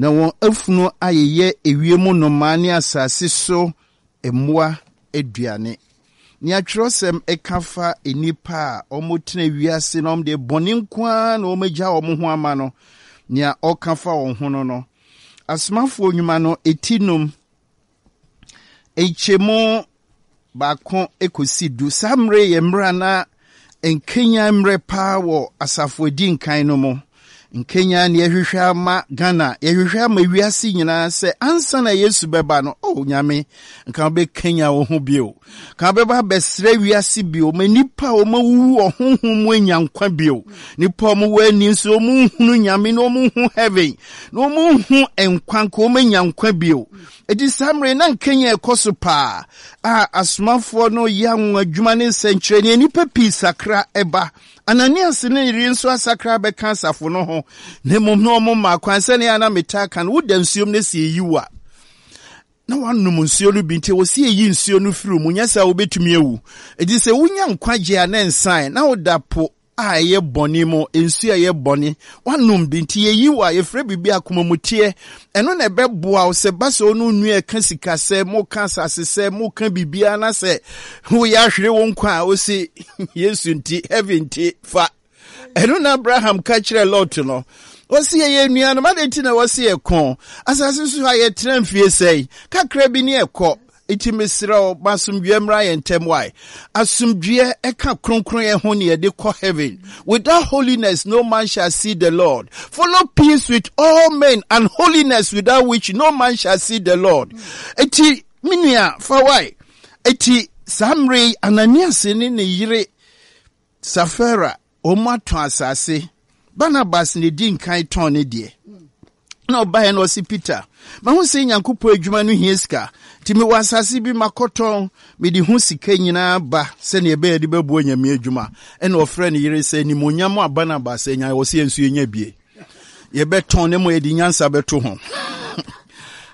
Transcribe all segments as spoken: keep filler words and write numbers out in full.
Na wɔn afunu ayeyɛ ewiem nnomaa ne asase so mmoa aduane. Nea twerɛsɛm ɛka fa nnipa a wɔtena wiase na wɔde bɔne nko ara na wɔagya wɔn ho ama no, nea ɔka fa wɔn ho no no Asomafoɔ Nnwuma no eti num, nkyɛmu baako ekosi du. Saa mmerɛ yɛ mmerɛ na nkenya mmerɛ paa wɔ asafo edi nkan no mu. Nkenya ne yɛhwehwɛ ama Ghana, yɛhwehwɛ ama wiase nyinaa sɛ ansa na Yesu bɛba no, oh Nyame, nka wobɛkenya wo ho bio, ka wobɛba abɛsrɛ wiase bio ma nnipa a wɔawuwu wɔ honhom mu anya nkwa bio, nnipa a wɔwɔ ani nso wɔnhunu Nyame na wɔnhu heaven na wɔnhu nkwa, nka wɔanya nkwa bio. Ɛti saa mmerɛ na nkenya ɛkɔ so paa a asomafoɔ no yɛ anwonwa adwuma ne nsɛnkyerɛnneɛ, nnipa pii sakra ɛba. Ananias ne yere nso asakra bɛka asafo no ho, na mmom na ɔmo ma kwan. Sɛnea na metaa ka no, woda nsuom no si eyi wo a na wanom nsuo no bi, nti wɔsi eyi nsuo no firi mu, nyɛ sɛ wobɛtumi awu. Eti sɛ wonya nkwagye a ne nsan na woda po a ɛyɛ bɔne mu, nsuo a ɛyɛ bɔne wanom bi, nti yɛyi wo a, yɛfrɛ biribi akomamuteɛ. Ɛno na ɛbɛboa wo sɛ ba sɛ wo no nua ɛka sika sɛ moka asase sɛ moka biribiara na sɛ woyɛ ahwere wo nkwa a, wosi Yesu nti, heaven nti fa. Ɛno na Abraham ka kyerɛ Lot no, wɔsi yɛyɛ nnuanom, ade nti na wɔsi yɛ kɔn asase so a yɛtena mfie sɛe kakra bi ne ɛkɔ? Nti mesrɛ wo, ma asomdwoeɛ mmra yɛn ntam. Wae, asomdwoeɛ ɛka kronkron ho ne yɛde kɔ heaven. Without holiness no man shall see the Lord. Follow peace with all men and holiness, without which no man shall see the Lord. Eti me nua, fa wae. Eti saa mmerɛ yi, Ananias ne ne yere Safira wɔn atɔn asase. Barnabas na edi nkan tɔn ne deɛ, na ɔbaeɛ na ɔsi Peter, mahu sɛ Nyankopɔn adwuma no hia sika, nti mewɔ asase bi makɔtɔn, mede ho sika nyinaa ba sɛnea ɛbɛyɛ de bɛboa Nyame adwuma. Ɛna ɔfrɛ ne yere sɛ nimonyam a Barnabas anya, wɔ sɛ yɛn nso yɛnya bie, yɛbɛtɔn ne mo, yɛde nyansa bɛto ho,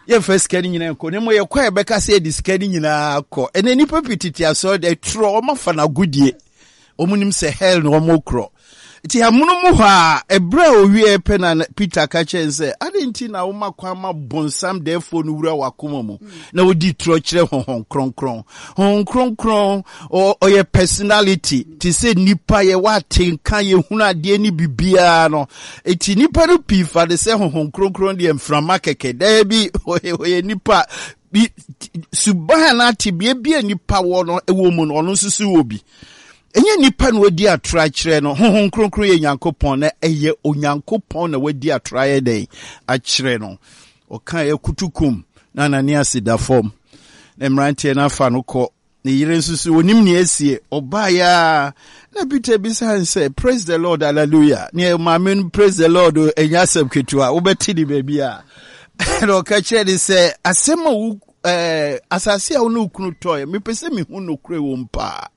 yɛmfa sika no nyinaa nkɔ ne mo, yɛkɔ a yɛbɛka sɛ yɛde sika no nyinaa kɔ. Ɛnɛ nnipa pii tete asɔre de torɔ, ɔma no agodie, wɔn nim sɛ hell na wɔn korɔ. Nti amono mu hɔ a, ɛberɛ a owie pɛ na Peter ka kyerɛ sɛ, ade nti na woma kwan ma bonsam dɛɛfoɔ no wura w'akoma mu na wodi torɔ kyerɛ Honhom Kronkron? Honhom Kronkron ɔyɛ personality te sɛ nipa, yɛwɔ atenka, yɛhunu adeɛ ne biribiara no. Eti nipa no pii fa de sɛ Honhom Kronkron deɛ mframa kɛkɛ. Daabi, ɔyɛ nipa bi, suban anaa tebea bi a nipa wɔ no ɛwɔ mu no, ɔno nso so wɔ bi. Ɛnyɛ nipa na wadi atorɔ akyerɛ no. Honhom Kronkron yɛ Nyankopɔn, na ɛyɛ Onyankopɔn na wadi atorɔ ayɛ dɛn akyerɛ no. Ɔka yɛ kutukum na Ananias da fam na mmeranteɛ no afa no kɔ. Ne yere nso so onim nea asie. Ɔbaeɛ a na Peter bisa sɛ, "Praise the Lord, hallelujah." Ne maame no, "Praise the Lord" ɛnyɛ asɛm ketewa, wobɛte ne baabi a. Na ɔka kyerɛ ne sɛ, asɛm a wo ɛɛ asase a wo ne wo kunu tɔɛ, mepɛ sɛ mehu nokorɛ wɔ mu paa.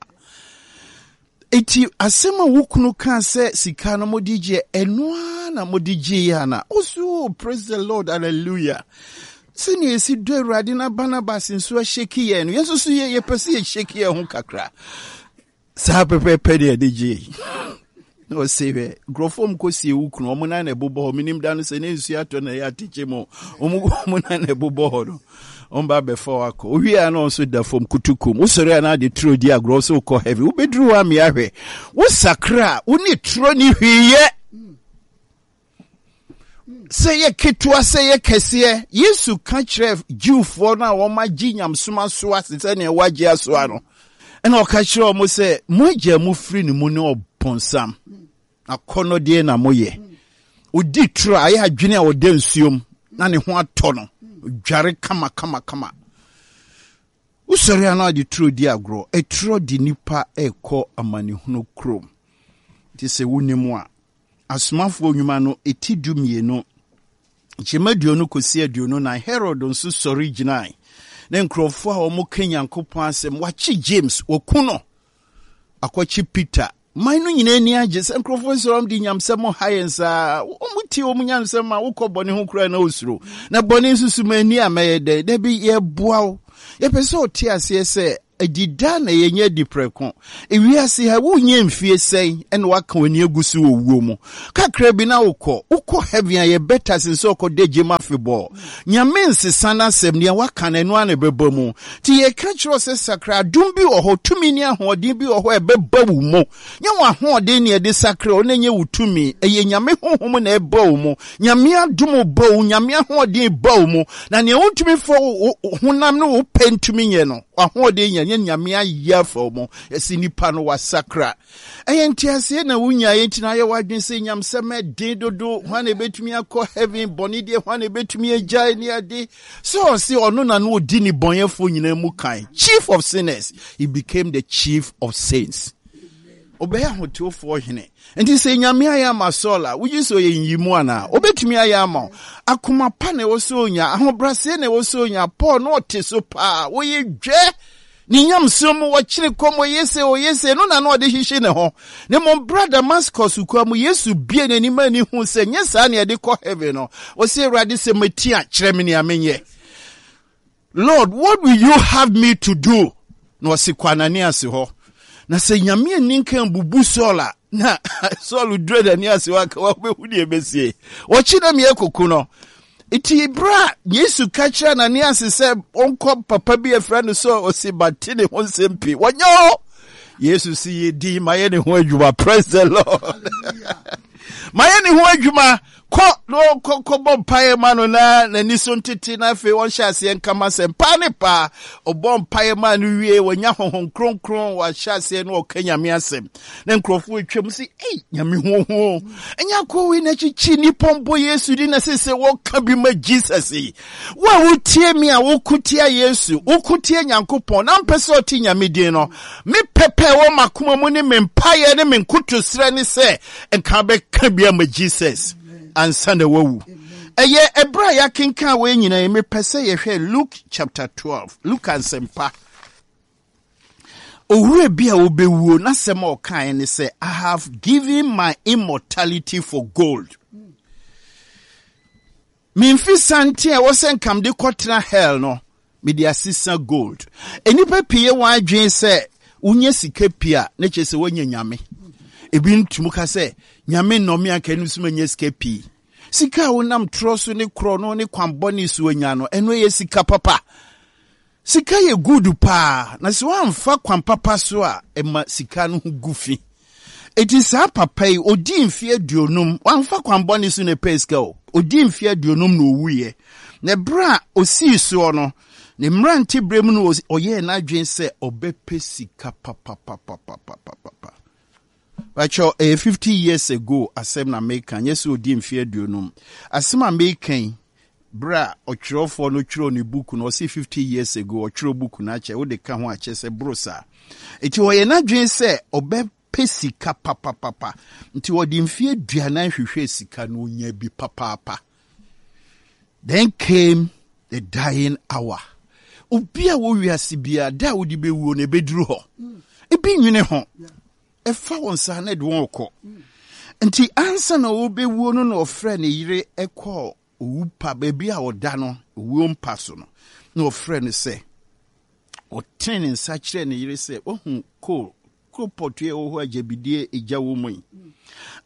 Eti asɛm a wo kunu kaa sɛ sika no mode gye, ɛno ara na mode gye yɛ ana? Ɔso, "Praise the Lord, hallelujah." Sɛnea esi dɔ Awurade na Barnabas nso ahyɛki yɛn no, yɛn nso so yɛ yɛpɛ sɛ yɛhyɛki yɛn ho kakra saa pɛpɛɛpɛ de yɛde gye. Na ɔse, hwɛ, nkurɔfoɔ mu kɔsie wo kunu, ɔmo nan na ɛbobɔ hɔ. Menim da no sɛ ne nsuo atɔ na ɛyɛ atekye mu, ɔmo ɔmo nan na ɛbobɔ hɔ no, ɔmo ba abɛfa wo akɔ. Owie a na ɔnso da fam kutukum. Wosɔre a na ade turo di agorɔ sɛ wokɔ heaven. Wobɛduru hɔ amea, hwɛ, wosakra a wo ne turo ne hwee yɛ, sɛ yɛ ketewa sɛ yɛ kɛseɛ. Yesu ka kyerɛ Jewfoɔ no a wɔagye nyamesom asoa sɛ nea wɔagye asoa no, ɛna ɔka kyerɛ wɔn sɛ, mo agya mu firi ne mu ne ɔbonsam, akɔnnɔdeɛ na moyɛ. Odi toro a ayɛ adwene a ɔda nsuom na ne ho atɔ no, dware kama kama kama. Wosɔre a na ɔde turo di agorɔ. Ɛtoro de nipa ɛrekɔ amanehunu kurom. Nti sɛ wonim a, Asomafoɔ Nnwuma no ɛti du mmienu, nkyɛmu aduonu kɔsi aduonu nan. Herod nso sɔre gyinae ne nkurɔfoɔ a wɔka Nyankopɔn asɛm. Wakye James, wɔku no, akɔkye Peter. Man no nyinaa ani agye sɛ nkurɔfoɔ sɛ wɔn de nyamsɛm ha yɛn saa. Wɔn tie wɔn nyamsɛm a, wokɔ bɔne ho koraa na osuro na bɔne nso so ma ani a mɛyɛ dɛ. Dabi, yɛboa wo, yɛpɛ sɛ ɔte aseɛ sɛ Adida na yɛnyɛ adi prɛko. Ewiase ha, wonyɛ mfie sɛn ɛna waka w'ani agu so wɔ wuo mu. Kakra bi na wokɔ. Wokɔ heaven a, yɛ better sen sɛ ɔkɔ da gyem afebɔɔ. Nyame nsesa n'asɛm, nea waka no, ɛno ara na ɛbɛba mu. Nti yɛka kyerɛ wo sɛ sakra. Adom bi wɔ hɔ, tumi ne ahoɔden bi wɔ hɔ a ɛbɛba wo mu. Nyɛ w'ahoɔden na ɛde sakra wo, na ɛnyɛ wo tumi. Ɛyɛ Nyame honhom na ɛba wo mu. Nyame adom ba wo, Nyame ahoɔden ba wo mu. Na nea wontumi fa wo honam ne wo pɛ ntumi nyɛ no, w'ahoɔden nyɛ, nyɛ Nyame ayɛ afa wo mu. Yɛsi nipa no wasakra. Ɛyɛ nteaseɛ na wonyaeɛ nti na ayɛ w'adwene sɛ nyamsɛm ɛden dodo, hwan na ɛbɛtumi akɔ heaven, bɔne deɛ hwan na ɛbɛtumi agyae ne ade. Sɛ ɔse ɔno na no ɔdi ne bɔnyɛfoɔ nyinaa mu kan, chief of sinners, he became the chief of saints. Ɔbɛyɛ ahotewofoɔ hene. Nti sɛ Nyame ayɛ ama Saul a, wogye sɛ ɔyɛ nyimu anaa? Obɛtumi ayɛ ama wo. Akoma pa na ɛwɔ sɛ onya, ahobrɛaseɛ na ɛwɔ sɛ onya. Paul na ɔte so paa, wɔyɛ dwɛ ne nyamsom mu, wɔkyere kɔm, ɔyɛ se, ɔyɛ se, no na na ɔde hyehye ne ho. Ne mmom bra Damascus kwan mu, Yesu bie n'anim ani hu sɛ nyɛ saa na yɛde kɔ heaven no. Ɔsɛ, "Awurade, sɛ mati a, kyerɛ me nea menyɛ. Lord, what will you have me to do?" Na ɔse, "Kɔ Ananias hɔ." Na sɛ Nyame ani nka bubu Saul a, na Saul dura n'ani ase hɔ aka wabɛhu deɛ ɛbɛsie. Ɔkyi na meɛ koko no. Nti berɛ a Yesu ka kyerɛ Ananias sɛ ɔnkɔ papa bi afira no sɛ ɔse mate ne ho nsɛm pii. Wɔnyɛ o! Yesu si yɛ din, mayɛ ne ho adwuma. Praise the Lord. Mayɛ ne ho adwuma. Kɔ na ɔkɔ kɔbɔ mpaeɛ ma no na n'ani so ntete, na afei ɔnhyɛ aseɛ nkama sɛ paa ne paa. Ɔbɔ mpaeɛ ma no wie, wɔnya Honhom Kronkron, wɔahyɛ aseɛ na ɔka Nyame asɛm na nkurɔfoɔ atwam sɛ, "Ei, Nyame hoho ɛnyɛ akɔ wei na kyikyi nnipa mbɔ Yesu di na sɛ sɛ wɔka bi ma Jesus yi." Wo a wotie me a woko tia Yesu, woko tia Nyankopɔn na mpɛ sɛ ɔte Nyame din no, me pɛpɛ wɔ m'akoma mu ne me mpaeɛ ne me nkotosrɛ ne sɛ nka bɛka bi ama Jesus ansa na wawu. Ɛyɛ ɛberɛ a yɛakenkan wei nyinaa yi, mepɛ sɛ yɛhwɛ Luke chapter twelve, Luke Ansɛmpa. Owura bi a wobɛwuo n'asɛm a ɔkaeɛ ne sɛ, "I have given my immortality for gold." Memfi sante a ɛwɔ sɛ nkam de kɔtena hell no, mede asesa gold. Nnipa pii yɛ wɔn adwene sɛ wonya sika pii a, na kyerɛ sɛ woanya Nyame. Ebi ntumi ka sɛ Nyame nnɔme anka ɛno nso manya sika pii. Sika a wonam torɔ so ne korɔ no ne kwanbɔne so anya no, ɛno yɛ sika papa. Sika yɛ good paa, na sɛ woamfa kwan papa so a, ɛma sika no ho gu fi. Eti saa papa yi, ɔdii mfe aduonum, wamfa kwan bɔne so na ɛpɛɛ sika o. Ɔdii mfe aduonum na ɔwuiɛ. Na ɛberɛ a ɔsii soɔ no, ne mmerante berɛ mu no, ɔyɛɛ n'adwene sɛ ɔbɛpɛ sika papapapapapapa. Bakyɛ, ɛyɛ fifty years ago asɛm na meka, nyɛ sɛ ɔdii mfe aduonum. Asɛm a meka yi, berɛ a ɔtwerɛfoɔ no twerɛ ne book no, ɔse fifty years ago ɔtwerɛ book no akyɛ, wode ka ho akyɛ sɛ boro saa. Enti ɔyɛ n'adwene sɛ ɔbɛpɛ sika papapapa. Nti ɔde mfeɛ aduanan hwehwɛɛ sika no, ɔnya bi papaapa. Then came the dying hour. Obi a wɔ wiase biara, da a wode bɛwuo no ɛbɛduru hɔ. Ebi nwene ho. Ɛfa wɔn saa na ɛde wɔn kɔ. Nti ansa na wɔbɛwuo no na ɔfrɛ ne yere ɛkɔɔ owu pa baabi a ɔda no, owuo mpa so no, na ɔfrɛ no sɛ ɔtene ne nsa kyerɛ ne yere sɛ, "Wahu coal coal pot yi a ɛwɔ hɔ a gyabidie egya wɔ mu yi,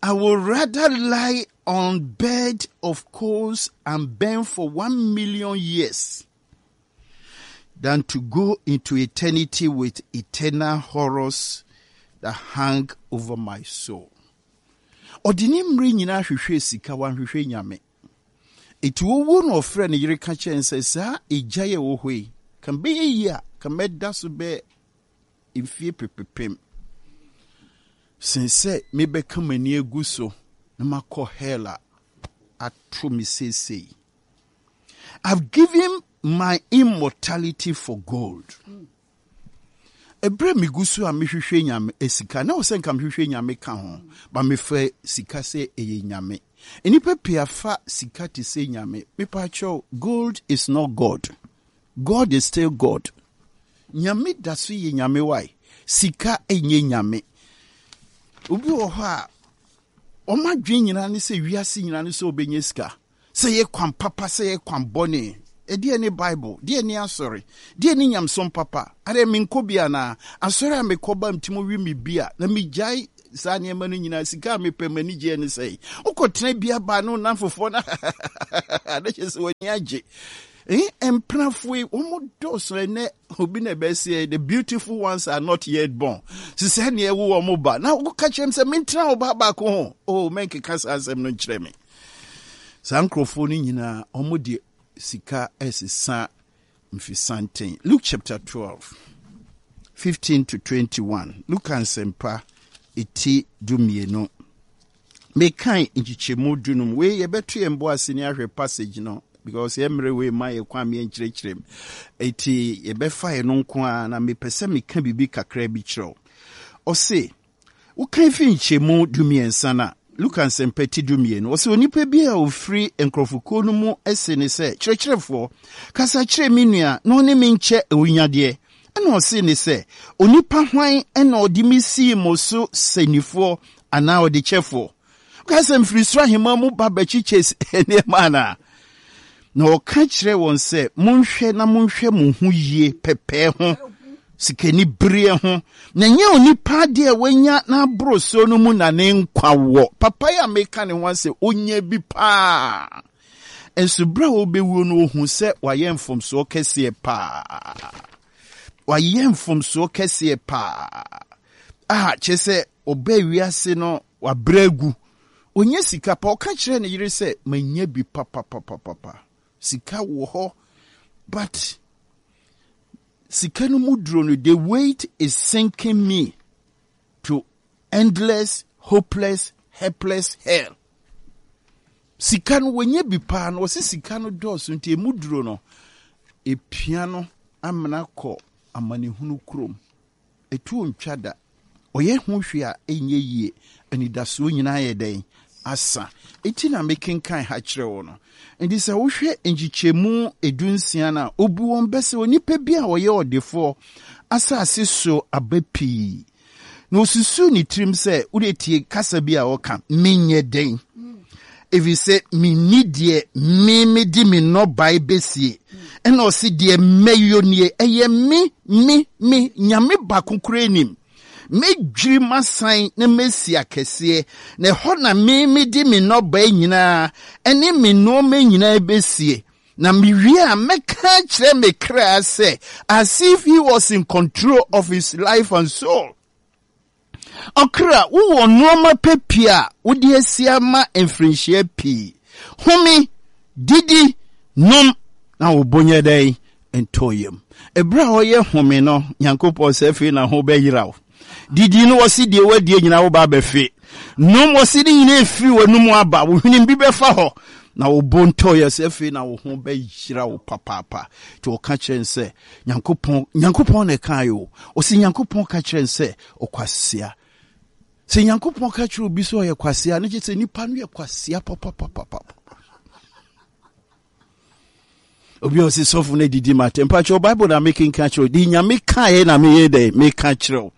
I would rather lie on bed of coals and burn for one million years than to go into eternity with eternal horrors that hang over my soul." Ɔde ne mmerɛ nyinaa hwehwɛ sika, wanhwehwɛ Nyame. Eti owuo na ɔfrɛ ne yere ka kyerɛ no sɛ, saa egya yi a ɛwɔ hɔ yi, ka bɛyɛ yie a, ka mɛda so bɛyɛ mfie pepepem sen sɛ mebɛka m'ani agu so na makɔ hell a ato me seesei. I've given my immortality for gold. Ɛberɛ megu so a mehwehwɛ Nyame eh, sika na wɔ sɛ nka mehwehwɛ Nyame ka ho ba, mefɛ sika sɛ ɛyɛ Nyame. Nnipa pii afa sika te sɛ Nyame. Mepa, gold is not God. God is still God. Nyame da so yɛ Nyame. Wae, sika ɛnyɛ Nyame. Obi wɔ hɔ a ɔma adwene nyinaa ne sɛ wiase nyinaa ne sɛ ɔbɛnya sika, sɛ yɛ kwan papa, sɛ yɛ kwan bɔne. Ɛdeɛ ne Bible? Deɛ ne asɔre? Deɛ ne nyamsom papa? Adeɛ menkɔ bi anaa? Asɔre a mekɔ ba mtim wi me bi a, na megyae saa nneɛma no nyinaa. Sika a mepɛ m'ani gyeɛ ne sɛe. Wokɔtena bi aba ne wo namfofoɔ no na kyerɛ sɛ w'ani agye. Eh, mpenafoɔ yi, wɔn dɔɔso ɛnɛ. Obi na ɛbɛseɛ, "The beautiful ones are not yet born." Sisɛ neɛ ɛwo wɔn ba na woka kyerɛ m sɛ mentena wo ba baako ho. Oh, mɛnkeka saa asɛm no nkyerɛ me. Saa nkurɔfoɔ no nyinaa, wɔn de sika ɛsesa mfisanten. Luke chapter twelve, fifteen to twenty-one. Luka Nsɛmpa eti du mmienu, mekan nkyekyɛmu dunum. Wei yɛbɛto yɛn bo ase ne ahwɛ passage no, because yɛn mmerɛ wei ma yɛ kwan mi nkyerɛkyerɛ mu, eti yɛbɛfa yɛn no nko ara, na mepɛ sɛ meka biribi kakra bi kyerɛw. Ɔse wokan fi nkyɛmu du mmiɛnsa no a, Luka Nsɛmpa ti du mmienu, ɔsɛ onipa bi a ofiri nkurɔfokuo no mu ese ne sɛ, "Kyerɛkyerɛfoɔ, kasa kyerɛ me nua na ɔne me nkyɛ awunyadeɛ." Ɛna ɔse ne sɛ, "Onipa hwan ɛna ɔde me sii mo so sɛnifoɔ anaa ɔdekyɛfoɔ?" Ka sɛ mfiri soro ahemma mu ba bɛkyekyɛ nneɛma anaa? Na ɔka kyerɛ wɔn sɛ, "Monhwɛ na monhwɛ mo ho yie pɛpɛɛ ho sikani bereɛ ho, na nyɛ onipa adeɛ a wanya n'aboro so no mu na ne nkwa wɔ." Papa yi a meka ne ho asɛ, onya bi paa, nso berɛ a wɔbɛwuo no, ohu sɛ wayɛ mfomsoɔ kɛseɛ paa, wayɛ mfomsoɔ kɛseɛ paa a kyerɛ sɛ ɔbaa wiase no, wabrɛ agu, ɔnyɛ sika pa. Ɔka kyerɛ ne yere sɛ, "Manya bi papapapapa, sika wɔ hɔ, but sika no mu duro no, the weight is sinking me to endless, hopeless, helpless hell." Sika no, wɔnyɛ bi paa no, wɔsi sika no dɔɔso nti emu duro no epia no amena kɔ amanehunu kurom. Etuo ntwa da, ɔyɛ ho hwee a ɛnyɛ yie, anidasoɔ nyinaa yɛ dɛn asa. Eti na mekenkan ha kyerɛ wo no. Nti sɛ wohwɛ nkyekyɛmu edu nsia no a, obu wɔn bɛ sɛ onipa bi a ɔyɛ ɔdefoɔ asase so aba pii, na osusu ne tirim sɛ, wode tie kasa bi a ɔka, "Menyɛ dɛn, ɛfiri sɛ menni deɛ me mede me nnɔbae bɛsie?" Ɛna ɔse, "Deɛ mɛyɔ nie, ɛyɛ me me me Nyame baako kora anim, mɛdwiri m'asan na mɛsi akɛseɛ, na ɛhɔ na me mede me nnɔbae nyinaa ɛne me nneɛma nyinaa bɛsie, na mewie a, mɛka kyerɛ me kra sɛ," as if he was in control of his life and soul, "Ɔkra, wowɔ nneɛma pɛ pii a wode asi ama mfirinhyia pii. Home, didi, nom, na wo bo nyɛ dɛn ntɔ yam." Ɛberɛ a ɔyɛ home no, Nyankopɔn sɛ, "Afei na ho bɛyera wo. Didi no, wɔse deɛ woadie nyinaa woba abɛfe. Nom, wɔse ne nyinaa ɛfiri w'anum aba wo hwenem bi bɛfa hɔ, na wo bo ntɔ yɛ sɛ afei na wo ho bɛyera wo papaapa." Nti ɔka kyerɛ n sɛ Nyankopɔn, Nyankopɔn na ɛkaeɛ o. Ɔsɛ Nyankopɔn ka kyerɛ n sɛ, "Ɔkwasea." Sɛ Nyankopɔn ka kyerɛ obi sɛ ɔyɛ kwasea no, kyerɛ sɛ nipa no yɛ kwasea papapapapa. Obi a ɔsi sɔfo no adidi ma atɛm, mpakyɛw, Bible na mekenka kyerɛ wo. De Nyame kaeɛ na meyɛ dɛ meka kyerɛ wo.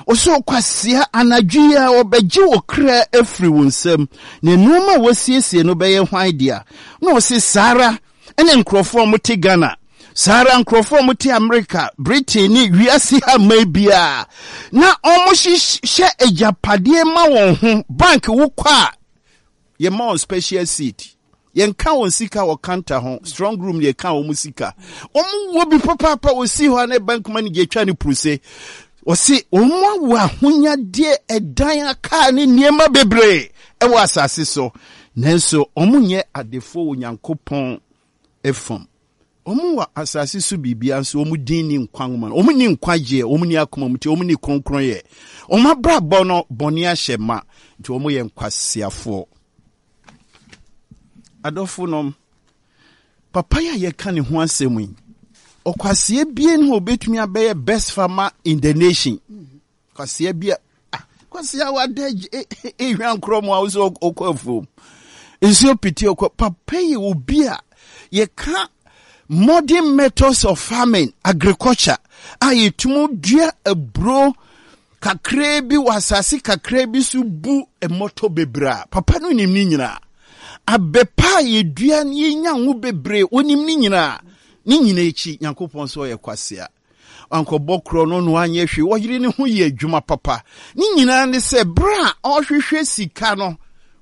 Ɔsɛ, "Ɔkwasea, anadwo yi a ɔbɛgye wo kra afiri wo nsam, na nneɛma a wɔasiesie no bɛyɛ hwan dea?" Na ɔse saa ara ɛne nkurɔfoɔ a wɔte Ghana, saa ara nkurɔfoɔ a wɔte Amerika, Britain ne wiase ha mman biara na wɔhyehyɛ agyapadeɛ ma wɔn ho. Bank wokɔ a, yɛma wɔn special seat, yɛnka wɔn sika wɔ counter ho, strong room yɛka wɔn sika. Wɔn wɔ bi papaapa, wɔsi hɔ a ne bank manager atwa ne puruse. Wɔsi wɔn awo ahonyadeɛ, ɛdan, akaa ne nneɛma bebree ɛwɔ asase so, nanso wɔn nyɛ adefoɔ wɔ Nyankopɔn fam. Wɔn wɔ asase so biribia, nso wɔn din ni nkwa nwoma no, wɔn ni nkwagyeɛ, wɔn ni akoma mu, nti wɔn ni kronkron yɛ. Wɔn abrabɔ no, bɔne ahyɛ ma, nti wɔn yɛ nkwasiafoɔ. Adɔfo nom, papa yi a yɛka ne ho asɛm yi, ɔkwaseɛ bie no a obetumi abɛyɛ best farmer in the nation. Kwaseɛ bi a, ah, kwaseɛ wada ehwɛ nkorɔ mu a wosɛ ɔkɔ afuom nsuo piti ɔkɔ. Papa yi, obi a yɛka modern methods of farming, agriculture a yɛtumi dua aburo kakraa bi wɔ asase kakraa bi so bu mmɔtɔ bebree a, papa no nim ne nyinaa. Abɛpa a yɛdua no yɛnya ngo bebree, onim ne nyinaa. Ne nyina akyi, Nyankopɔn sɛ ɔyɛ kwasea. Wankɔbɔ korɔ no na wanyɛ hwee. Ɔyere ne ho yɛ adwuma papa. Ne nyinaa ne sɛ berɛ a ɔhwehwɛ sika no,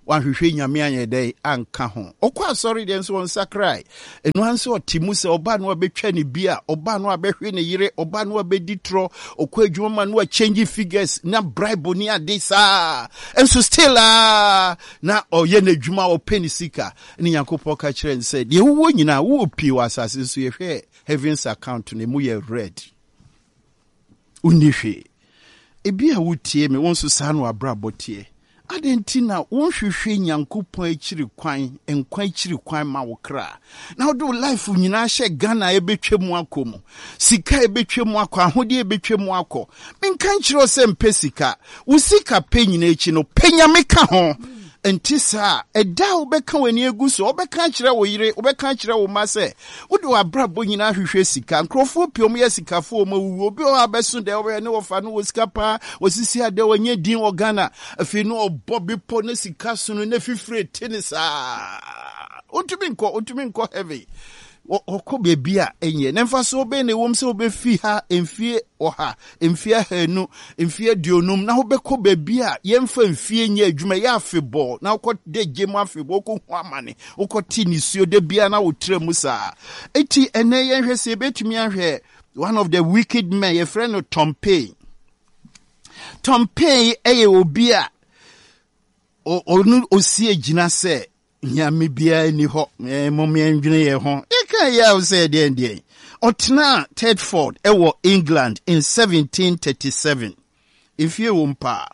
wanhwehwɛ Nyame anyɛ dɛn anka ho. Ɔkɔ asɔre deɛ nso ɔnsakrae. Ɛno ara nso ɔte mu sɛ ɔba no abɛtwa ne bi a, ɔba no abɛhwe ne yere, ɔba no abɛdi torɔ, ɔkɔ adwuma ma no achange figures na bribe ne ade saa. Nso still a na ɔyɛ n'adwuma, ɔpɛ ne sika. Ne Nyankopɔn ka kyerɛ no sɛ deɛ wowɔ nyinaa wowɔ pii wɔ asase so, yɛhwɛ heavens account no, emu yɛ red, wonni hwee. Ebi a wotie me, wo nso saa na w'abrabɔ teɛ. Adɛn nti na wonhwehwɛ Nyankopɔn akyiri kwan, nkwa akyiri kwan ma wo kra, na wode wo life nyinaa hyɛ Ghana a ɛbɛtwa mu akɔ mu, sika a ɛbɛtwa mu akɔ, ahodeɛ a ɛbɛtwa mu akɔ? Menka nkyerɛ wo sɛ mpɛ sika. Wo sika pɛ nyinaa akyi no, pɛ Nyame ka ho. Nti saa ɛda a wobɛka w'ani agu so, wobɛka akyerɛ wo yere, wobɛka akyerɛ wo mma sɛ wode w'abrabɔ nyinaa hwehwɛ sika. Nkurɔfoɔ pii ɔmo yɛ sikafoɔ, ɔmo awuwu. Obi wɔ hɔ a bɛso dɛ ɔbɛyɛ ne wɔfa no wɔ sika paa, wɔsisi adɛ, wɔnyɛ din wɔ Ghana. Afei no ɔbɔ bepɔ ne sika so no na fifire te ne saa, wontumi nkɔ, wontumi nkɔ heaven. Ɔkɔ baabi a ɛnyɛ na mfasoɔ bɛn na ɛwɔ mu sɛ wobɛfi ha mfie ɔha, mfie ahanu, mfie aduonum na wobɛkɔ baabi a yɛmfa mfie nyɛ adwuma, ɛyɛ afebɔɔ, na wokɔ de gye mu afebɔɔ, wokɔhu amane, wokɔte nisuo da biara na wotrɛ mu saa? Enti ɛnɛ yɛnhwɛ sɛ yɛbɛtumi ahwɛ one of the wicked men, yɛfrɛ no Tom Paine. Tom Paine ɛyɛ obi a ɔno osi gyina sɛ Nyame biara ni hɔ, mom yɛndwene yɛn ho. Yɛka yɛ a sɛ deɛn deɛn. Ɔtenaa Thetford ɛwɔ England in seventeen thirty-seven. Mfie wɔ paa.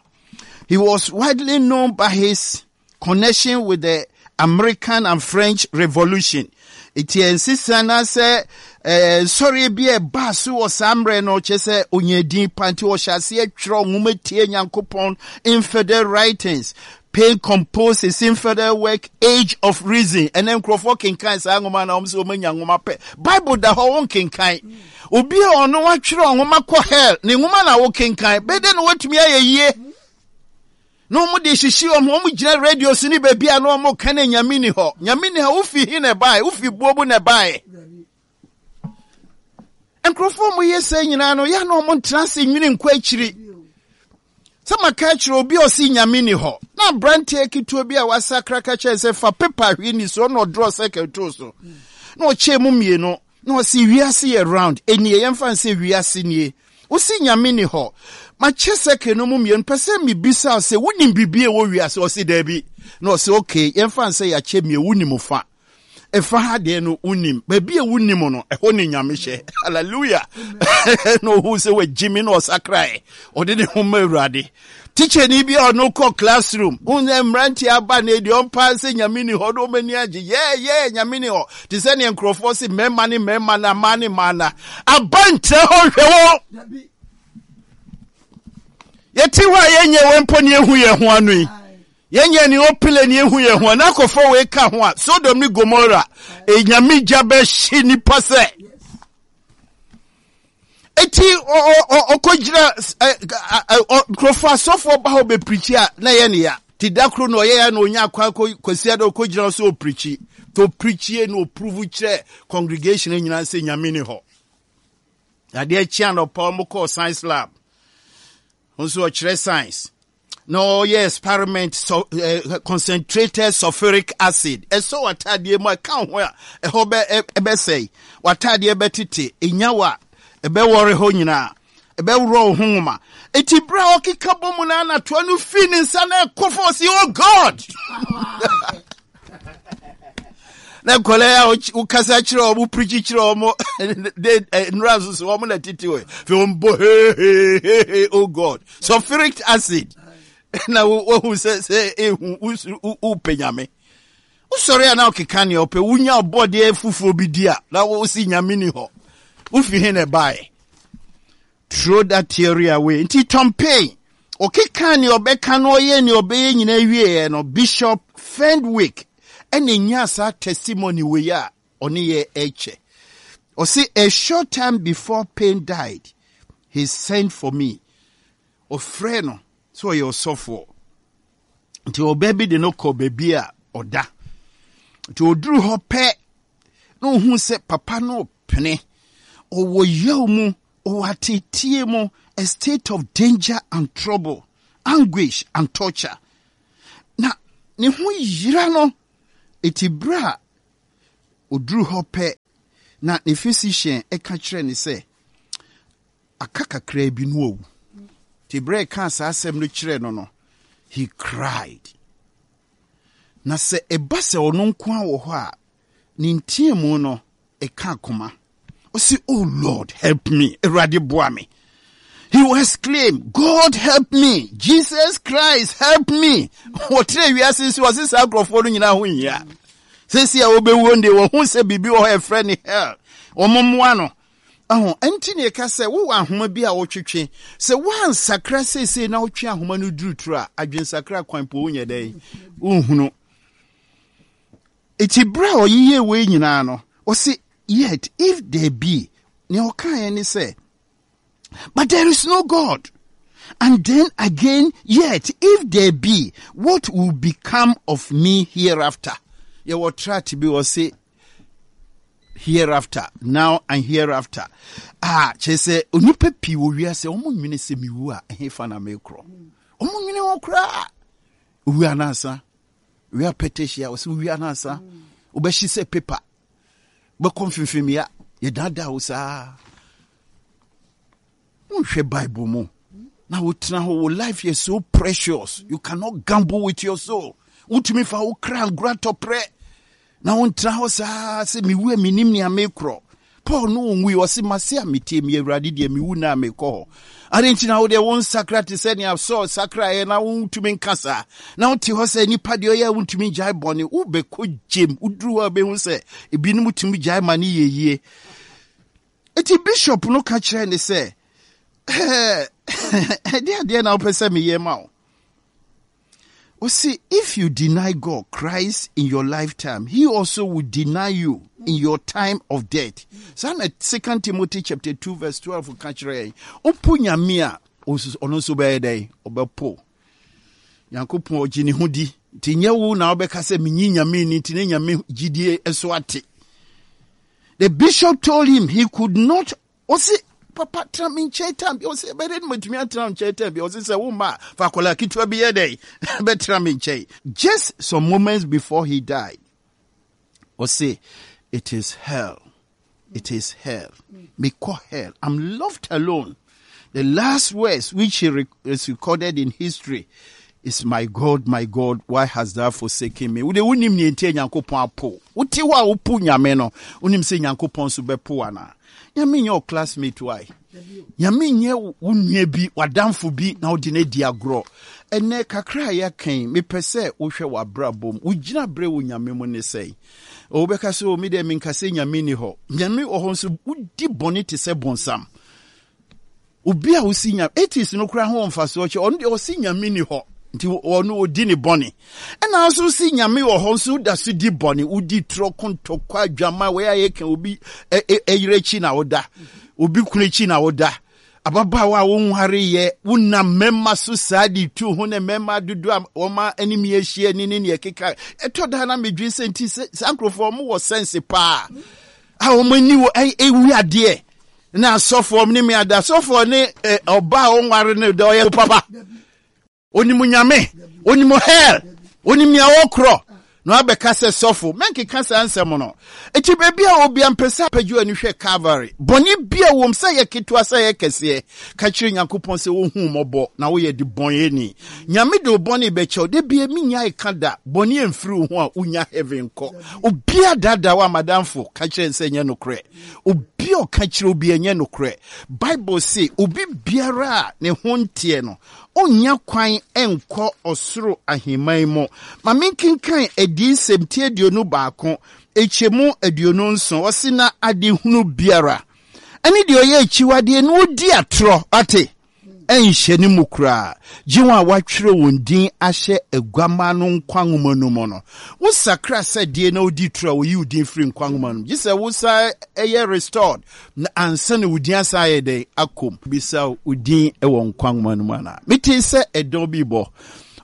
He was widely known by his connection with the American and French Revolution. Eti nsesa na sɛ ɛɛ nsɔre bi a ɛbaa so wɔ saa mmerɛ no, kyerɛ sɛ onyaa din pa, nti ɔhyɛ aseɛ twerɛ nwoma tie Nyankopɔn, infidel writings. Paine composed his infidel work Age of Reason. Ɛnɛ nkurɔfoɔ kenkan saa nwoma na wɔn sɛ wɔn anya nwoma pɛ. Bible da hɔ, wɔn kenkan. Obi a ɔno watwerɛ nwoma kɔ hell ne nwoma na wɔkenkan bɛde na wɔatumi ayɛ yie na wɔn de hyehye wɔn. Wɔn gyina radio so ne baabi a na wɔn ka ne Nyame ni hɔ, Nyame ni hɔ. Wofi hi na ɛbaeɛ? Wofi buo mu na ɛbaeɛ? Nkurɔfoɔ mo yɛ sɛ nyinaa no yɛ na wɔn ntena ase nwene nkɔ akyiri sɛ maka akyerɛ obi a ɔsi Nyame ni hɔ. Na aberanteɛ ketewa bi a wasakra ka kyerɛ sɛ fa pepa hwee ni so, ɔna ɔdraw circle too so na ɔkyɛɛ mu mmienu na ɔsi wiase yɛ round. Enie yɛmfa nsɛ wiase nie. Wosi Nyame ni hɔ, makyɛ circle no mu mmienu, pɛ sɛ mebisa sɛ wonim biribi a ɛwɔ wiase? Ɔsi daabi. Na ɔsi okay, yɛmfa nsɛ yɛakyɛ mmienu, wonim fa ɛfa ha deɛ no, wonim baabi a wonim no, ɛhɔ ne Nyame hyɛ. Hallelujah! Na ɔhu sɛ wagyi me na ɔsakrae, ɔde ne ho ma Awurade. Tikyani bi a ɔno kɔ classroom, wonyɛ mmeranteɛ aba ne deɛ ɔmpa sɛ Nyame ni hɔ na ɔmani agye yɛɛyɛ Nyame ni hɔ te sɛ neɛ nkurɔfoɔ se mmarima ne mmarima na mmaa ne mmaa na aba nkyerɛ hɔ. Hwɛ wɔ yɛte hɔ a yɛnyɛ wɔ mpo ne yɛhu yɛn ho ano yi, yɛnyɛ ne ɔpele ne ehu yɛn ho na akɔfɔ wei ka ho a, Sodom ne Gomora enyame gya bɛhye nipa sɛ. Eti ɔkɔgyina nkurɔfoɔ asɔfoɔ ba hɔ bɛpreach a na ɛyɛ ne ya. Ti da koro na ɔyɛ ya na onya akwan kɔsi ada ɔkɔgyina hɔ sɛ ɔpreach to ɔpreachie na ɔprove kyerɛ congregation nyinaa sɛ Nyame ni hɔ. Adeɛ kyea na ɔpa ɔmo kɔɔ science lab nso, ɔkyerɛ science na ɔyɛ experiment, so, uh, concentrated sulfuric acid ɛsɔ w'ataadeɛ mu a ɛka ho a, ɛhɔ bɛ ɛbɛsɛe, w'ataadeɛ bɛtete, enya wa ɛbɛwɔre hɔ nyinaa, ɛbɛworɔ wo ho nwoma. Eti bere a ɔkeka bɔ mu na anatoa no fi ne nsa na ɛkɔ fɔ, ɔsi, "Oh God!" Na nkɔla yi a wokasa kyerɛ wɔn, preach kyerɛ wɔn de nnura nso so wɔn na tete wɔ fi wɔn bɔ hehehehe, "Oh God!" Sulfuric acid na wohu sɛ sɛ ehu wopɛ Nyame, wosɔre a na ɔkeka nea ɔpɛ. Wonya ɔbɔdeɛ fufuo bi di a na wosi Nyame ni hɔ, wofi he na ɛbaeɛ? Throw that theory away. Nti Tom Paine ɔkeka nea ɔbɛka no, ɔyɛ nea ɔbɛyɛ nyinaa wieɛ no, Bishop Fenwick ɛna nya saa testimony wei a ɔne yɛ ɛkyɛ. Ɔse a short time before Paine died, he sent for me. Ɔfrɛ no sɛ ɔyɛ ɔsɔfoɔ nti ɔbaa bi de no kɔ baabi a ɔda. Nti ɔduru hɔ pɛ na ohun sɛ papa no pene. Ɔwɔ yaw mu, ɔwɔ ateetie mu, a state of danger and trouble, anguish and torture. Na ne ho yera no, eti berɛ a ɔduru hɔ pɛ na ne physician ɛka kyerɛ ne sɛ aka kakraa bi no awu. Nti berɛ a ɛkaa saa asɛm no kyerɛ no no, he cried. Na sɛ ɛba sɛ ɔno nko a wɔ hɔ a, ne nteamu no ɛka akoma. Ɔsi, "Oh Lord, help me. Awurade boa me." He will exclaim, "God help me. Jesus Christ help me." Wɔtrɛ wiase nso ɔse saa nkurɔfoɔ no nyinaa ho nhia. Sɛsi a wɔbɛwuo no deɛ, wɔhu sɛ biribi wɔ hɔ a ɛfrɛ ne hell. Wɔn mmoa no. Ɛho ɛnti ne ɛka sɛ wowɔ ahoma bi a wotwetwe. Sɛ woansakra seesei na wotwe ahoma no duruturo a, adwensakra kwan po wonyɛ dɛn? Wonhunu. Eti berɛ a ɔyeyɛ wei nyinaa no, ɔse, "Yet if there be," nea ɔkaeɛ ne sɛ, "But there is no God. And then again, yet if there be, what will become of me hereafter?" Yɛwɔ tract bi wɔ se "Hereafter, Now and Hereafter." Ah, kyerɛ sɛ onipa pii wɔ wiase wɔn nwene sɛ mewu a ɛhefa na mekorɔ. Wɔn nwene ho koraa. Owu anansa. Wia pɛtɛhyia wɔsɛ owu anansa. Wobɛhye sɛ paper. Wobɛkɔ mfimfimia. Yɛdaadaa wo saa. Wonhwɛ Bible mu na wotena hɔ, wo life yɛ so precious, you cannot gamble with your soul. Wotumi fa wo kra ngora tɔprɛ na wontena hɔ saa sɛ mewu a menim nea mekorɔ. Paul no ɔnwui, ɔse mase a metie me Awurade deɛ, mewu na mekɔ hɔ ade nti na wodeɛ wo nsakra te sɛ nea Saul sakraeɛ na wontumi nka saa na wote hɔ sɛ nipa deɛ ɔyɛ a wontumi gyae bɔne. Wobɛkɔ gyem, woduru hɔ a wobɛhu sɛ ebinom tumi gyae ma ne yɛ yie. Eti bishop no ka kyerɛ ne sɛ, "Ɛde adeɛ na wopɛ sɛ meyɛ ma wo?" Ɔsi, "If you deny God, Christ, in your lifetime, he also will deny you in your time of death." Saa na Second Timothy chapter two verse twelve ka kyerɛ yɛn. Wopo Nyame a, ɔno nso bɛyɛ dɛn? Ɔbɛpo. Nyankopɔn ɔgye ne ho di. Nti nyɛ wo na wobɛka sɛ menyi Nyame ni nti ne Nyame gyidie so ate. The bishop told him he could not, ɔsi, "Papa, tena me nkyɛn time bi." Ɔsi, "Ɛbɛyɛ dɛ matumi atena nkyɛn time bi?" Ɔsi, "Sɛ wo ma fa akwadaa ketewa bi yɛ dɛ bɛtena me nkyɛn." Just some moments before he died, ɔsi, "It is hell, it is hell, mekɔ hell, I'm left alone." The last words which he rec is recorded in history is, "My God, my God, why hast thou forsaken me?" Wode wonim nea nti a Nyankopɔn apo. Wote hɔ a wopo Nyame no, wonim sɛ Nyankopɔn nso bɛpo anaa? Nyame nyɛ wo classmate why? Nyame nyɛ wo nua bi, w'adamfo bi na wode no adi agorɔ. Ɛnɛ kakra a yɛaka yi, mepɛ sɛ wohwɛ w'abrabɔ mu. Wogyina berɛ wɔ Nyame mu ne sɛn? Wobɛka sɛ, "O, me deɛ menka sɛ Nyame ni hɔ." Nyame wɔ hɔ nso wodi bɔne te sɛ bonsam. Obi a wosi Nyame, atheist no koraa ho wɔ mfasoɔ kyɛ ɔno deɛ ɔsi Nyame ni hɔ nti ɔno ɔdi ne bɔne, ɛna nso si Nyame wɔ hɔ nso woda so di bɔne, wodi torɔ, kontɔkwa, adwama wei a yɛka, obi ɛyere akyi na woda, obi kunu akyi na woda, ababaawa a wonwareyɛ wonam mmarima so saa de tu ho ne mmarima dodo a wɔma anim ahyia ni ne neɛ keka ɛtɔ da na medwen sɛ nti saa nkurɔfoɔ wɔn wɔ sense paa a wɔn ani wɔ ɛwi adeɛ na asɔfoɔ ne me ada asɔfoɔ ne ɔbaa a ɔnware no dɛ ɔyɛ papa, onim Nyame, onim hell, onim nea ɔkorɔ na wabɛka sɛ sɔfo mɛnkeka saa nsɛm no. Eti baabi a obi ampɛ sɛ apagye ani hwɛ Calvary, bɔne bi a wɔm sɛ yɛ ketewa sɛ yɛ kɛseɛ, ka kyerɛ Nyankopɔn sɛ wohu mmɔbɔ na woyɛ de bɔnyɛni. Nyame de wo bɔne bɛkyɛw. Da bia menya ɛka da bɔne amfiri wo ho a wonya heaven kɔ. Obia daadaa wo amadamfo, ka kyerɛ sɛ nyɛ nokorɛ. Obi a ɔka kyerɛ obi ɛnyɛ nokorɛ. Bible se obi biara a ne ho nteɛ no ɔnnya kwan nkɔ ɔsoro ahemman mu. Ma menkenkan Adiyisɛm ti aduonu baako ɛkyɛmu aduonu nson. Ɔse, "Na adehunu biara ɛne deɛ ɔyɛ akyiwadeɛ na ɔdi atorɔ ate ɛnhyɛ ne mu koraa, gye wɔn a wɔatwerɛ wɔn din ahyɛ Aguama no nkwa nwoma no mu no." Wosakra sɛ deɛ na wodi toro a, wɔyi wo din firi nkwa nwoma no mu, gye sɛ wosa ɛyɛ restored na ansa na wo din asan ayɛ dɛn akɔm. Bisa wo din wɔ nkwa nwoma no mu anaa? Metee sɛ ɛdɔn bi bɔ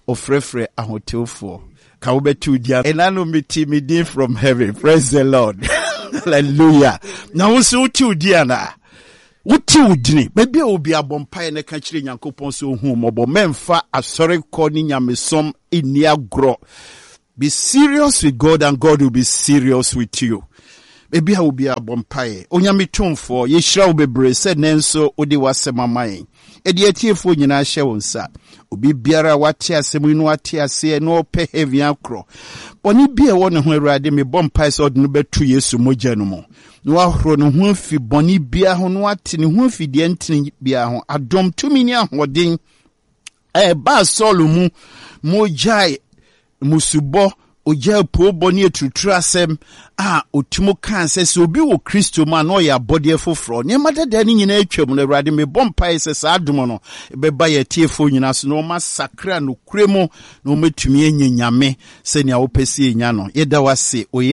ɔfrɛfrɛ ahotewfoɔ ka wobɛte wo din. Ɛna no mete me din from heaven. Praise the Lord. Hallelujah. Na wo nso wote wo din anaa? Wote wo dini. Baabi a obi abɔ mpaeɛ na ka kyerɛ Nyankopɔn sɛ ohu mmɔbɔ. Mɛmfa asɔre kɔ ne nyamesom nni agorɔ. Be serious with God and God will be serious with you. Baabi a obi abɔ mpaeɛ. Onyame tumfoɔ, yɛhyira wo bebree sɛ nnɛ nso wode w'asɛm ama yɛn. Ɛde atiefoɔ nyinaa hyɛ wo nsa. Obi biara a wate asɛm yi na wate aseɛ na ɔpɛ heaven akorɔ. Bɔne bi a ɛwɔ ne ho Awurade, mebɔ mpaeɛ sɛ ɔde no bɛto Yesu mogya no mu. Na wahoro ne ho afi bɔne biara ho na wate ne ho afi deɛ ntene biara ho. Adom, tumi ne ahoɔden a ɛbaa Saul mu ma ogyae mmusubɔ, ogyaa poobɔ ne aturuturu asɛm a otum kaa sɛ sɛ obi wɔ Kristo mu a na ɔyɛ abɔdeɛ foforɔ. Nneɛma dada no nyinaa atwam no, Awurade, mebɔ mpaeɛ sɛ saa adom no bɛba yɛn atiefoɔ nyinaa so na wɔasakra nokorɛ mu na wɔatumi anya Nyame sɛnea wopɛ sɛ yɛnya no. Yɛda wo ase wɔ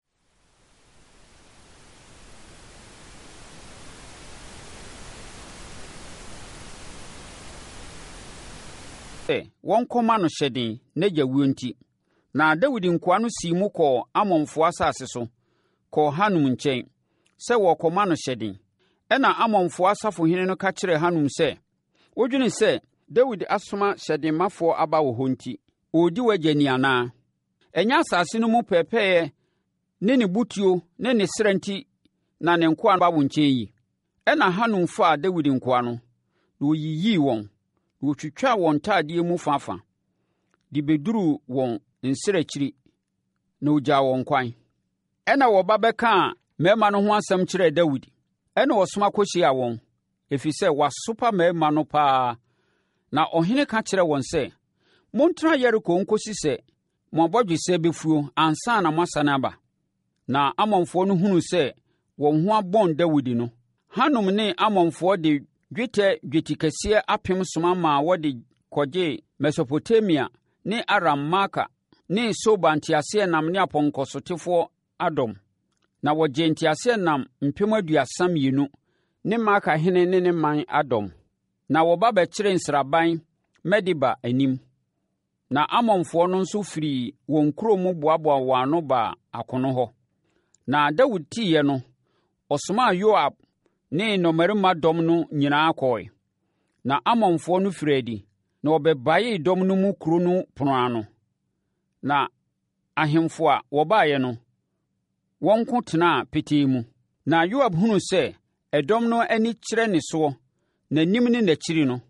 Sɛ wɔnkɔma no hyɛden n'agya wuo nti. Na Dawid nkoa no sii mu kɔɔ Amonfoɔ asase so, kɔɔ Hanun nkyɛn, sɛ wɔrekɔma no hyɛden. Ɛnna Amonfoɔ asafohene no ka kyerɛɛ Hanun sɛ, Wodwene sɛ Dawid asoma hyɛdenmafoɔ aba wo hɔ nti, ɔredi w'agya ni anaa? Ɛnyɛ asase no mu pɛɛpɛeɛ ne ne butuo ne ne serɛ nti na ne nkoa ba wo nkyɛn yi? Ɛnna Hanun faa Dawid nkoa no, na ɔyiyii wɔn, na ɔtwitwaa wɔn ntadeɛ mu fãfã de bɛduruu wɔn nsrɛkyire, na ɔgyaa wɔn kwan. Ɛnna wɔba bɛkaa mmarima no ho asɛm kyerɛɛ Dawid. Ɛnna ɔsoma kɔhyiaa wɔn, ɛfiri sɛ wɔasopa mmarima no paa. Na ɔhene ka kyerɛɛ wɔn sɛ, Montena Yeriko nkɔsi sɛ mo abɔdwesɛ bɛfuo ansa na moasane aba. Na Amonfoɔ no hunuu sɛ wɔn ho abɔn Dawid no, Hanun ne Amonfoɔ de dwetɛ dwetikɛseɛ apem soma maa wɔde kɔgyee Mesopotamia ne Aram-Maaka ne Soba nteaseɛnam ne apɔnkɔsotefoɔ adɔm. Na wɔgyee nteaseɛnam mpem aduasa mmienu ne Maaka hene ne ne man adɔm. Na wɔba bɛkyeree nsraban Medeba anim. Na Amonfoɔ no nso firii wɔn nkuro mu boaboaa wɔn ano baa akono hɔ. Na Dawid teeɛ no, ɔsomaa Yoab ne nnɔmmarima dɔm no nyinaa kɔɔe. Na Amonfoɔ no firii adi, na wɔbɛbaee dɔm no mu kuro no pono ano. Na ahemfo a wɔbaeɛ no, wɔn nko tenaa petee mu. Na Yoab hunuu sɛ ɛdɔm no ani kyerɛ ne soɔ, n'anim ne n'akyiri no,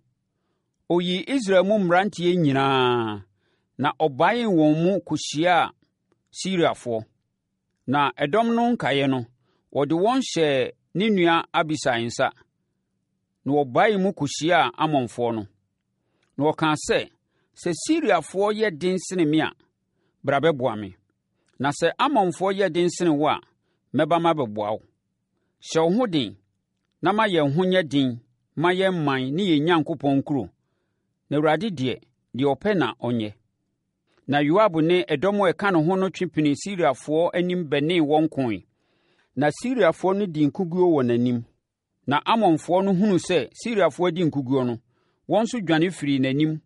Ɔyii Israel mu mmeranteɛ nyinaa, na ɔbaee wɔn mu kɔhyiaa Siriafoɔ. Na ɛdɔm no nkaeɛ no, ɔde wɔn hyɛɛ ne nua Abisai nsa, na wɔbaee mu kɔhyiaa Amonfoɔ no. Na ɔkaa sɛ, Sɛ Siriafoɔ yɛ den sene me a, bra bɛboa me. Na sɛ Amonfoɔ yɛ den sene wo a, mɛba mabɛboa wo. Hyɛ wo ho den na ma yɛn ho nyɛ den ma yɛn man ne yɛn Nyankopɔn nkuro, na Awurade deɛ, deɛ ɔpɛ na ɔnyɛ. Na Yoab ne ɛdɔm a ɛka ne ho no twe pinii Siriafoɔ anim bɛnee wɔn koe. Na Siriafoɔ no dii nkoguo wɔ n'anim. Na Amonfoɔ no hunuu sɛ Siriafoɔ adi nkoguo no, wɔn nso dwane firii n'anim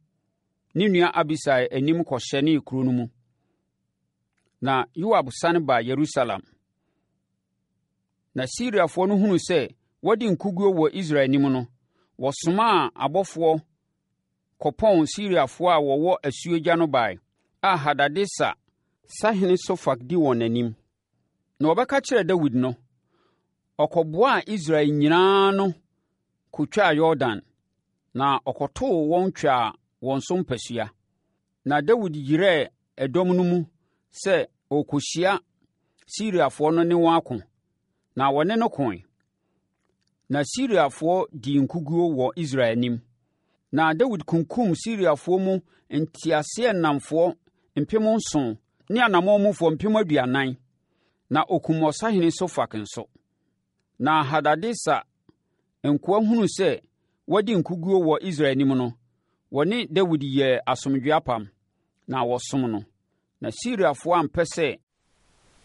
ne nua Abisai anim kɔhyɛnee kuro no mu. Na Yoab sane baa Yerusalem. Na Siriafoɔ no hunuu sɛ wɔadi nkoguo wɔ Israel anim no, wɔsomaa abɔfoɔ kɔpɔn Siriafoɔ a wɔwɔ asuogya no baeɛ, a Hadadeser sahene Sofak di wɔn anim. Na wɔbɛka kyerɛɛ Dawid no, ɔkɔboaa Israel nyinaa ano kɔtwaa Yordan, na ɔkɔtoo wɔn twaa wɔn so mpasua. Na Dawid yerɛɛ ɛdɔm no mu sɛ ɔrekɔhyia Siriafoɔ no ne wɔn ako, na wɔne no koe. Na Siriafoɔ dii nkoguo wɔ Israel anim. Na Dawid kunkumm Siriafoɔ mu nteaseɛnamfoɔ mpem nson ne anammɔnmufoɔ mpem aduanan, na ɔkumm ɔsahene Sofak nso. Na Hadadeser nkoa hunuu sɛ wɔadi nkoguo wɔ Israel anim no, wɔne Dawid yɛɛ asomdwoeɛ apam, na wɔsom no. Na Siriafoɔ ampɛ sɛ